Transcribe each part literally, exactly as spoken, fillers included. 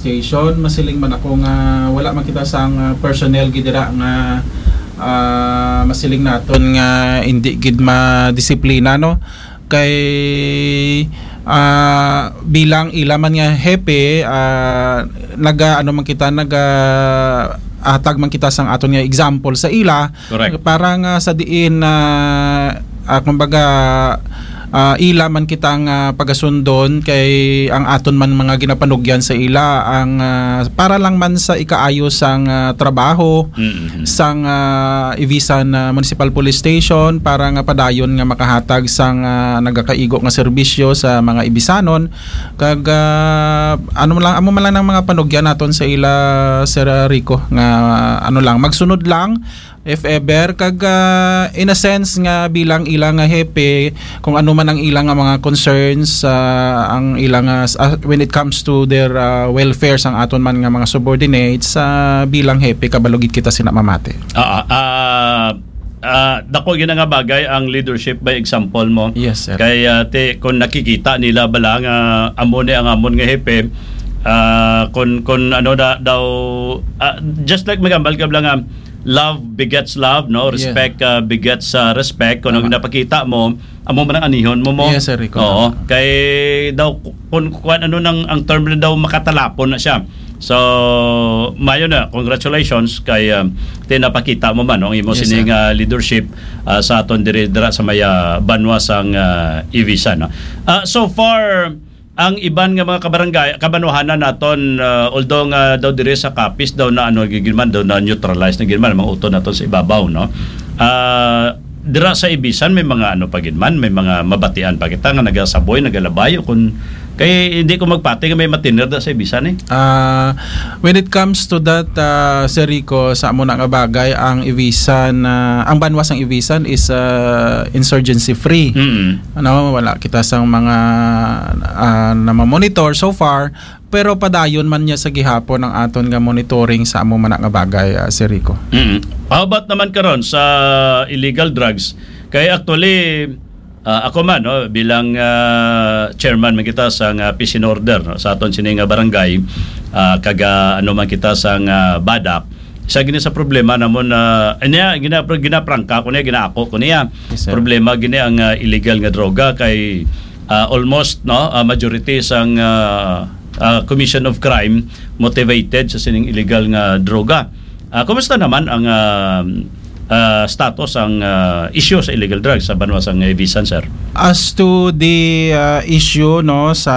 Station, masiling man ako nga wala man kita sang, ah, personnel gid dira nga, ah, masiling naton nga indi gid madisiplina, no? Kay, ah, bilang ila man nga hepe, ah, naga, ano man kita, naga, hatag man kita sang aton nga example sa ila. Correct. Para nga sa diin na, ah, kumbaga, ah, ila man kita nga pagasundon kay ang aton man mga ginapanugyan sa ila ang, ah, para lang man sa ikaayo sang, ah, trabaho Mm-hmm. sang, ah, Ivisan, ah, Municipal Police Station para nga padayon nga makahatag sang, ah, nagakaigo nga serbisyo sa mga Ibisanon. Kag, ah, ano man lang, amo man lang ang mga panugyan naton sa ila, Sir Rico, nga, ano lang, magsunod lang if ever, kag, ah, in a sense nga bilang ila nga hepe, kung ano man ang ila nga mga concerns, ah, ang ila nga, ah, when it comes to their, ah, welfare sang aton man nga mga subordinates, ah, bilang hepe, kabalo gid kita sina mamati. Ah, ah, ah, dako gyud nga bagay ang leadership by example mo. Yes, sir. Kay, ah, ti, kung nakikita nila bala nga amo ni ang amon nga hepe, ah, kung, kung ano na daw, ah, just like magambal ka bala nga, love begets love, no? Yes. Respect, ah, begets, ah, respect. Kung ano Tama. ginapakita mo, amo man ang anihon mo, mo. Yes, sir, ikaw Oo. tama. Kay daw, ku-, kung kuan, ano nang, ang term na daw, makatalapon na siya. So, mayo na, congratulations kay, ah, ti napakita mo man, no, ang imo Yes, sining, sir. ah, leadership, ah, sa aton diri, dira sa may, ah, banwa sang, ah, Ivisan, no? Ah, so far, ang iban nga mga kabarangay, kabanwahanan naton, ah, although nga daw diri sa Capiz daw na, ano, gid man, daw na neutralize na gid man, mga uton naton sa ibabaw, no? Ah, dira sa Ibisan may mga, ano, pa gid man, may mga mabatian pa kita nga nagasaboy, nagalabay, o kun, kay hindi ko magpati nga may matiner da sa Ibisan, eh. Ah, when it comes to that, ah, Sir Rico, sa amo na nga bagay, ang Ibisan, ah, ang banwa sang Ibisan is, ah, insurgency free. Mm. Ano, wala kita sang mga, ah, namamonitor so far, pero padayon man niya sa gihapon ang aton nga monitoring sa amo man nga bagay, ah, Sir Rico. Mm. How about naman karon sa illegal drugs? Kay actually, ah, ako man, no, bilang, ah, chairman man kita sa nga peace and order, no, sa aton sini nga barangay, ah, kaga ano man kita sa nga badak, sa gini sa problema namon na, anya, gina-, ginaprangka ko niya, ginaako ko niya. Yes, sir. Problema gini ang, ah, illegal nga droga kay, ah, almost, no, ah, majority sang, ah, ah, commission of crime motivated sa sining illegal nga droga. Ah, kumusta naman ang, ah, ah, status, ang, ah, issue sa illegal drugs sa banwa sang Ibisan, sir? As to the, ah, issue, no, sa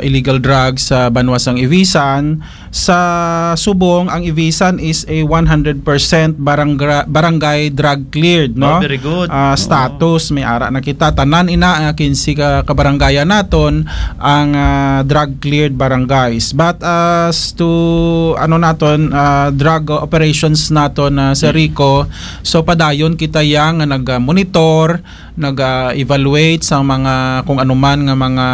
illegal drugs sa banwa sang Ibisan, sa subong ang Ibisan is a one hundred percent barangra-, barangay drug cleared, no? Oh, very good. Ah, Oo. Status, may ara na kita. Tanan ina, ah, kinse ka kabarangayan naton ang, ah, drug cleared barangays. But as to, ano naton, ah, drug operations naton, ah, Sir Mm. Rico, so padayon kita yang nga nag-monitor, nag-evaluate sa mga kung ano man nga mga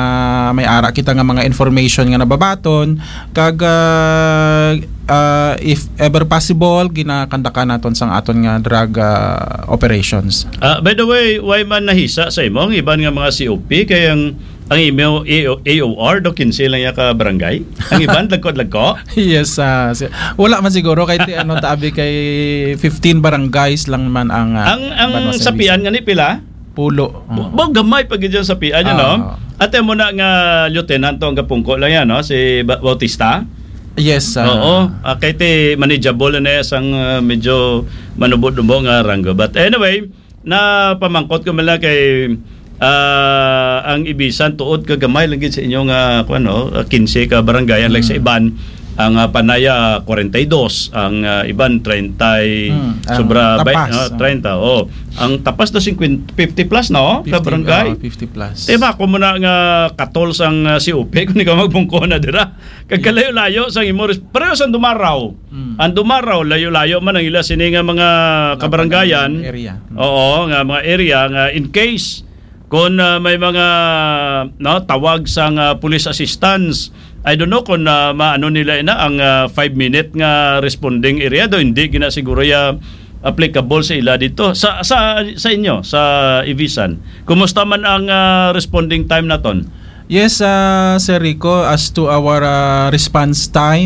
may ara kita nga mga information nga nababaton, kag, ah, ah, if ever possible, ginakandakan naton sang aton nga drug, ah, operations. Ah, by the way, why man nahisa sa imo ang iban nga mga C O P? Kay ang, ang imo A O, A O R daw kinse lang ya ka barangay. Ang iban, dagko-dagko? Yes, ah, si-, wala man siguro kay ti-, ano, tabi kay fifteen barangays lang man ang, ah, Ang, ang banwa sa sapian Ibisan. Nga ni pila? Pulo. Bu-, Oo. bu-, gamay pa gid yung sapian, ano? Ah. Ate mo na nga lieutenant to ang gapungko lang yan, no? Si Ba-, Bautista? Yes, ah. Oo. Ah, kay ti manageable na yan sang, ah, medyo manubo-nubo nga ranggo. But anyway, na pamangkot ko man lang kay, ah, ang Ibisan tuod ka gamay lang gid sa inyo nga, kuwan, no? Ah, kinse ka barangayan, like sa Mm. iban, ang, ah, Panaya, kwarenta y dos, ang, ah, iban, treinta y, Hmm, ang sobra, bay-, Tapas, ah, ah. treinta, oh. Ang Tapas na singkwenta, fifty plus, no? Ka Fifty, barangay. Oh, fifty plus. Di ba, kung muna nga katol sang, ah, C O P, kung ikaw magbungko na dira. Kag Yeah. kalayo-layo sang imo res-, pareho sang Dumaraw. Hmm. Ang Dumaraw, layo-layo man ang ila sini nga mga Laban kabarangayan. Area. Hmm. Oo, nga mga area nga in case kung, ah, may mga, no, tawag sang, ah, police assistance, I don't know kung, ah, maano nila ina ang, ah, five minute nga responding area do, hindi gina siguro ya applicable sa ila dito. Sa, sa, sa inyo, sa Ibisan, kumusta man ang, ah, responding time naton? Yes, ah, Sir Rico, as to our, ah, response time,